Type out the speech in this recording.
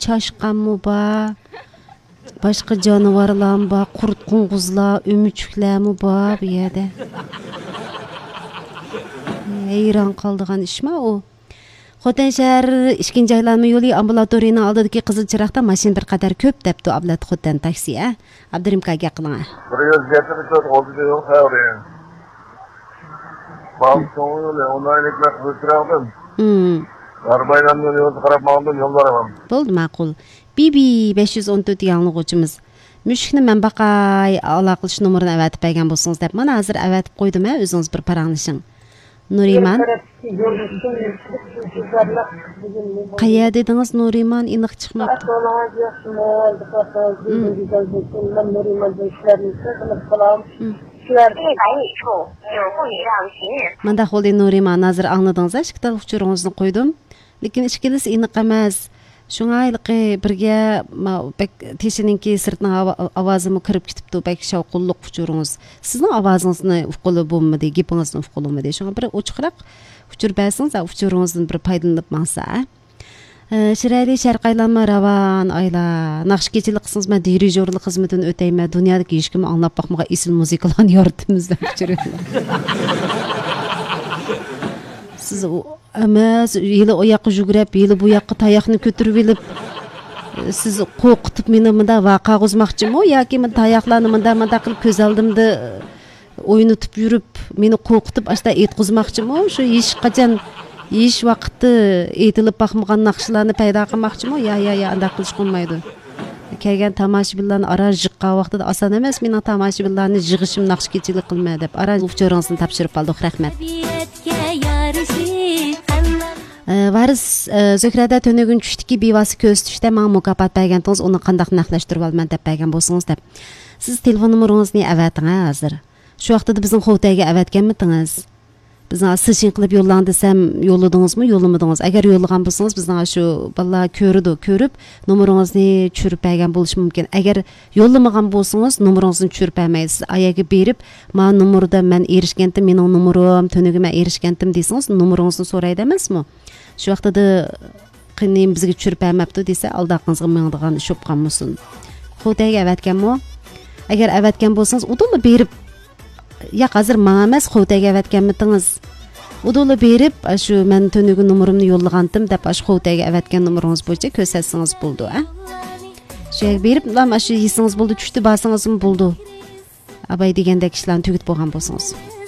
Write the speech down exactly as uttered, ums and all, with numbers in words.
چاشقانمۇ بار، باشقا جانىۋارلارمۇ بار، قۇرت قوڭغۇزلار، ئۆمۈچۈكلەرمۇ بار بۇ يەردە. ھەيران قالىدىغان ئىشما ئۇ. خوتەن شەھەر ئىككىنچى ئايلانما يولى ئامبۇلاتورىيىنىڭ ئالدىدىكى قىزىل چىراغدا ماشىنا بىر قەدەر كۆپ دەپتۇ ئابلەت خوتەن تاكسى، ھە؟ ئابدۇرېھىم ئاكا، گەپ قىلىڭ، ھە؟ بىر يۈز يەتمىش تۆت ئوتتۇز يول خەۋىرى. بام سوڭۇيۇلى ئونايلىكلار قىزىل چىراغدىن. ھىم. غەربايلانما يولىغا قاراپ ماڭدىم، يوللار ئاۋام. بولدى، ماقۇل. بىبى بەش يۈز ئون تۆت ياڭلىغۇچىمىز. مۈشۈكنى مەن باقاي، ئالاقىلىشىش نومۇرىنى ئەۋەتىپ بەرگەن بولسىڭىز دەپ. مانا ھازىر ئەۋەتىپ قويدۇم، ھە، ئۆزىڭىز بىر پاراڭلىشىڭ. نۇرىمان. قەيەر دېدىڭىز، نۇرىمان؟ ئېنىق چىقماپتۇ. ئەھۋالىڭىز ياخشىمۇ؟ ھىم. مەن نۇرىماندىن ئىشلەرنى قىلىپ قالام. ھىم. شۇلار. مۇنداق بولدى، نۇرىمان، ھازىر ئاڭلىدىڭىز، ھە، ئىككى تال ئۇچۇرىڭىزنى قويدۇم. لېكىن ئىككىلىسى ئېنىق ئەمەس. شۇڭا ھېلىقى بىرگە ما-، بەك تېشىنىڭكى سىرتنىڭ ئاۋا-، ئاۋازىمۇ كىرىپ كېتىپتۇ، بەك شاۋقۇنلۇق ئۇچۇرىڭىز. سىزنىڭ ئاۋازىڭىزنى ئۇققىلى بولمىدى، گېپىڭىزنى ئۇققىلى بولمىدى. شۇڭا بىر ئوچۇقراق ئۇچۇر بەرسىڭىز، ئۇچۇرىڭىزدىن بىر پايدىلىنىپ ماڭسا، ھە؟ ئە، شىرئەلى شەرقىي ئايلانما راۋان ئايلا. ناخشا كېچىلىك قىلسىڭىز، مەن دىرىژورلۇق خىزمىتىنى ئۆتەيمەن. دۇنيادىكى ھېچكىممۇ ئاڭلاپ باقمىغان ئېسىل مۇزىكىلارنى يارىتىمىز دەپ ئۇچۇر يوللاپ. سىز ئۇ ئەمەس، ھېلى ئۇ ياققا يۈگۈرۈپ، ھېلى بۇ ياققا تاياقنى كۆتۈرۈۋېلىپ، سىز قورقۇتۇپ مېنى مۇنداق ۋارقىراغۇزماقچىمۇ ياكى مۇنداق تاياقلارنى مۇنداق، مۇنداق قىلىپ كۆز ئالدىمدا ئوينىتىپ يۈرۈپ، مېنى قورقۇتۇپ ئاشتا ئېيتقۇزماقچىمۇ؟ شۇ ھېچقاچان، ھېچ ۋاقىتتا ئېيتىلىپ باقمىغان ناخشىلارنى پەيدا قىلماقچىمۇ؟ يا، يا، يا، ئانداق قىلىشقا بولمايدۇ. كەلگەن تاماشىبىنلارنى ئاران جىققان ۋاقتىدا ئاسان ئەمەس مېنىڭ تاماشىبىنلارنى يىغىشىم، ناخشا كېچىلىك قىلىمەن دەپ. ئاران ئۇچۇرىڭىزنى تاپشۇرۇپ قالدۇق. رەھمەت. ئە، ۋارىس، ئە، زۆھرەدە تۈنۈگۈن چۈشتىكى بىۋاسىتە كۆرسىتىشتە ماڭا مۇكاپات بەرگەنتىڭىز، ئۇنى قانداق نەقلەشتۈرۈۋالىمەن دەپ بەرگەن بولسىڭىز دەپ. سىز تېلېفون نومۇرىڭىزنى ئەۋەتىڭ، ھە، ھازىر. شۇ ۋاقتىدا بىزنىڭ خوتەيگە ئەۋەتكەنمىتىڭىز؟ بىزنىڭ سىشىن قىلىپ يوللاڭ دېسەم، يوللىدىڭىزمۇ، يوللىمىدىڭىز؟ ئەگەر يوللىغان بولسىڭىز، بىزنىڭ شۇ بالىلار كۆرىدۇ، كۆرۈپ، نومۇرىڭىزنى چۈشۈرۈپ بەرگەن بولۇشى مۇمكىن. ئەگەر يوللىمىغان بولسىڭىز، نومۇرىڭىزنى چۈشۈرۈپ بەرمەيسىز. ئايەرگە بېرىپ، ما نومۇردا مەن ئېرىشكەنتىم، مېنىڭ نومۇرۇم، تۈنۈگۈن مەن ئېرىشكەنتىم دېسىڭىز، نومۇرىڭىزنى سورايدۇ ئەمەسمۇ؟ شۇ ۋاقتىدا قېنى بىزگە چۈشۈرۈپ بەرمەپتۇ دېسە، ئالدى ئارقىڭىزغا مېڭىدىغان ئىش بولۇپ قالمىسۇن. خوتەيگە ئەۋەتكەنمۇ؟ ئەگەر ئەۋەتكەن بولسىڭىز، ئۇدۇللا بېرىپ، ياق، ھازىر ماڭا ئەمەس، خوتەيگە ئەۋەتكەنمىتىڭىز؟ ئۇدۇللا بېرىپ، ئاشۇ مەن تۈنۈگۈن نومۇرۇمنى يوللىغانتىم دەپ، ئاشۇ خوتەيگە ئەۋەتكەن نومۇرىڭىز بويىچە كۆرسەتسىڭىز بولىدۇ، ھە؟ شۇ يەرگە بېرىپ، ئاشۇ يېسىڭىز بولىدۇ، چۈشتە بارسىڭىزمۇ بولىدۇ. ئاباي دېگەندەك ئىشلارنى تۈگىتىپ بولغان بولسىڭىز.